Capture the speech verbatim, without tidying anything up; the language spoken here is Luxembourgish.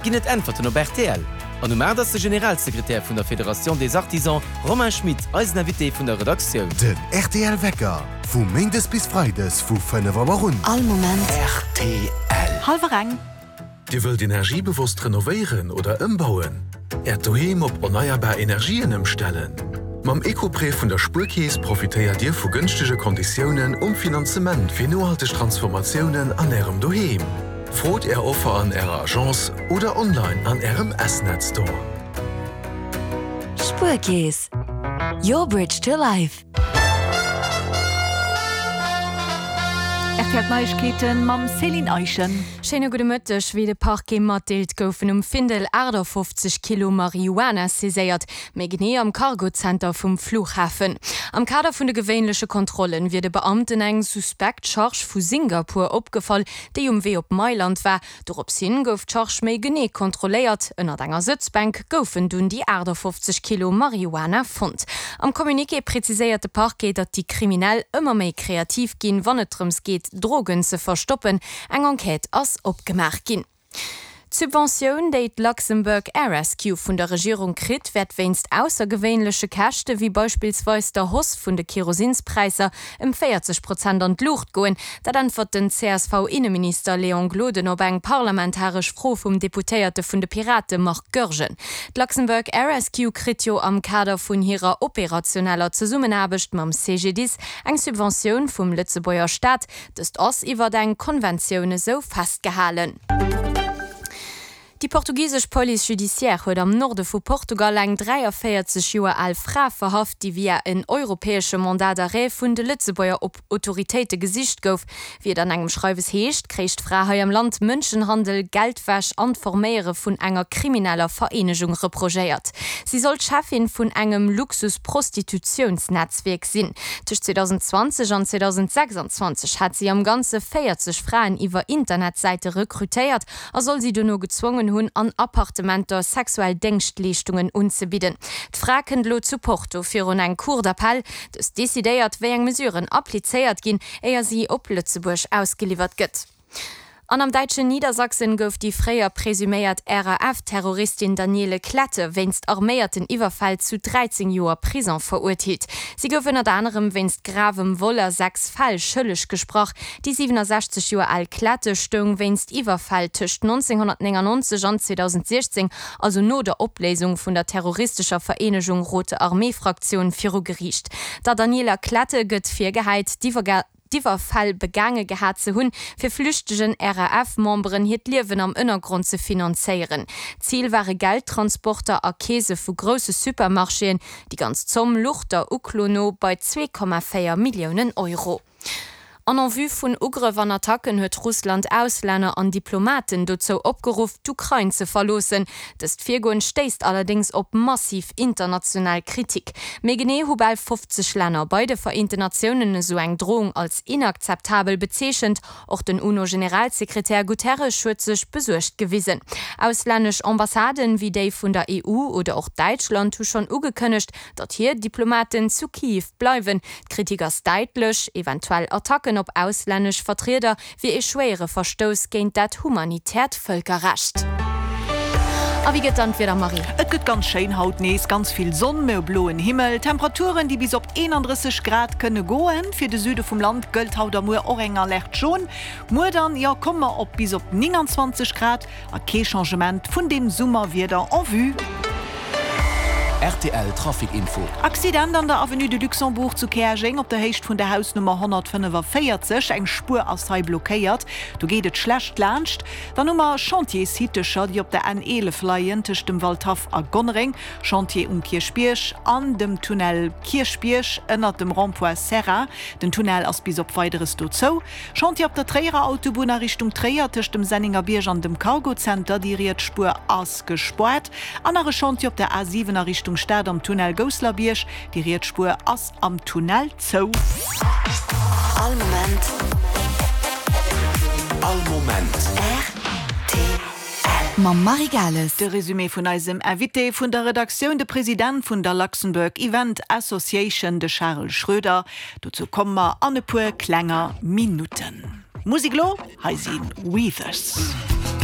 Ginn et Äntwerten op rtl? An um aacht ass de Generalsekretär vun der Fédération des Artisans, Romain Schmit, eisen Invité vun der Redaktioun. Den rtl Wecker vu Méindes bis Freides vu fënnef Auer un. All Moment rtl. Hallwer eng. Dir wëllt energiebewosst renovéieren oder ëmbauen? Äert Doheem op erneierbar Energien ëmstellen? Mam Eco-Prêt vun der Spuerkeess profitéiert Dir vu gënschtege Konditiounen um Finanzement fir nohalteg Transformatiounen an Ärem Doheem. Frot Är Offer an Ärer Agence oder online an Ärem S-Net Store. Spuerkeess, your bridge to life. R T L D'Neiegkeeten mam Céline Eischen. Schéine gudde Mëtteg. Wéi de Parquet matdeelt, goufen um Findel achtafofzeg Kilo Marihuana saiséiert, méi genee am Cargozenter vum Flughafen. Am Kader vun de gewéinleche Kontrollen wier de Beamten eng suspekt Charge vu Singapur opgefall, déi um Wee op Mailand war. Dorops hin gouf d'Charge méi genee kontrolléiert. Ënnert enger Sëtzbänk goufen dunn déi achtafofzeg Kilo Marihuana fonnt. Am Communiqué preziséiert de Parquet, datt déi Kriminell ëmmer méi kreativ ginn, wann et drëms geet, Drogen ze verstoppen. Eng Enquête ass opgemaach ginn. D'Subventioun, déi d'Luxembourg Air Rescue vun der Regierung kritt, wäert wéinst aussergewéinleche Käschte wéi beispillsweis der Hausse vun de Kerosinspräisser ëm véierzeg Prozent an d'Luucht goen. Dat äntwert den C S V-Inneminister Léon Gloden op eng parlamentaresch Fro vum Deputéierte vun de Pirate Marc Goergen. D'Luxembourg Air Rescue kritt jo am Kader vun hirer operationeller Zesummenaarbecht mam C G D I S eng Subventioun vum Lëtzebuerger Staat. Dëst ass iwwer eng Konventioun esou festgehalen. Déi portugisesch Police judiciaire huet am Norde vu Portugal eng dräiavéierzeg Joer al Fra verhaft, déi via en europäesche Mandat d'arrêt vun de Lëtzebuerger Autoritéite gesicht gouf. Wéi et an engem Schreiwes heescht, kréich d'Fra hei am Land Mënschenhandel, Geldwäsch an d'Forméiere vun enger krimineller Vereenegung reprochéiert. Si soll d'Cheffin vun engem Luxus-Prostitutiounsnetzwierk sinn. Tëscht zweedausendzwanzeg an zweedausendsechsanzwanzeg hat si am Ganze véierzeg Fraen iwwer Internetsäite rekrutéiert a soll si dono gezwongen hunn, an Appartementer sexuell Déngschtleeschtungen unzebidden. D'Fra kënnt elo zu Porto virun eng Cour d'appel. Dës decidéiert, wéi eng Mesuren applizéiert ginn, éier si op Lëtzebuerg ausgeliwwert gëtt. An am däitschen Niedersachsen gouf déi fréier presuméiert R A F-Terroristin Daniele Klette wéinst arméierten Iwwerfäll zu dräizéng Joer Prison verurteelt. Si gouf ënnert anerem wéinst gravem Vol a sechs Fäll schëlleg gesprach. Déi siwenasechzeg Joer al Klette stoung wéinst Iwwerfäll tëscht nonzénghonnertnéngannonzeg an zweedausendsiechzéng, also no der Opléisung vun der terroristescher Vereenegung Rote Armee Fraktion, viru Geriicht. Der Daniela Klette gëtt virgehäit, d'Iwwerfäll begaange gehat ze hunn, fir flüchtegen R A F-Memberen hiert Liewen am Ënnergrond ze finanzéieren. Zil ware Geldtransporter a Keese vu grousse Supermarchéen. Déi ganz Zomm louch der Uklo no bei zwee Komma véier Milliounen Euro. An en vue vun Ugrëff an Attacken huet Russland Auslänner an Diplomaten dozou opgeruff, d'Ukrain ze verloossen. Dëst Virgoen stéisst allerdéngs op massiv international Kritik. Méi genee hu bal fofzeg Länner bei de Vereenten Natiounen esou eng Drohung als inakzeptabel bezeechent. Och den UNO-Generalsekretär Guterres huet sech besuergt gewisen. Auslännesch Ambassaden, wéi déi vun der E U oder och Däitschland, hu schonn ugekënnegt, datt hir Diplomaten zu Kiew bleiwen. D'Kritik ass däitlech, Eventuell Attacken op auslännesch Vertrieder wier ee schwéiere Verstouss géint dat humanitäert Vëlkerrecht. A wéi gëtt dann d'Wieder, Marie? Et gëtt ganz schéin haut nees, ganz vill Sonn, mä bloen Himmel, Temperaturen déi bis op eenandrësseg Grad kënne goen. Fir de Süde vum Land gëllt haut a muer och eng Alerte jaune. Muer dann, jo, komme mer op bis op nénganzwanzeg Grad a kee Changement vun dem Summerwieder en vue. R T L Trafic Info. Accident an der Avenue de Luxembourg zu Käerjeng op der Héicht vun der Hausnummer honnertfënnefavéierzeg. Eng Spuer ass hei blockéiert, do geet et schlecht laanscht. Dann hu mer Chantiershittecher, déi op der N eelef leien tëscht dem Waldhaff a Gonnereng, Chantier um Kierchbierg an dem Tunnel Kierchbierg ënnert dem Rond-point Serra. Den Tunnel ass bis op Weideres do zou. Chantier op der Tréierer Autobunn a Richtung Tréier tëscht dem Sennengerbierg an dem Cargo Center, déi riets Spuer ass gespaart. An nach e Chantier op der A siwen a Richtung Stad am Tunnel Gousselerbierg, déi riets Spuer ass am Tunnel zou. All Moment. All Moment. R T L. Mam Marie Gales. De Resumé vun eisem Invité vun der Redaktioun, de President vun der Luxembourg Event Association, de Charel Schroeder. Dozou komme mer an e puer klenger Minutten. Musek elo, hei si Weavers.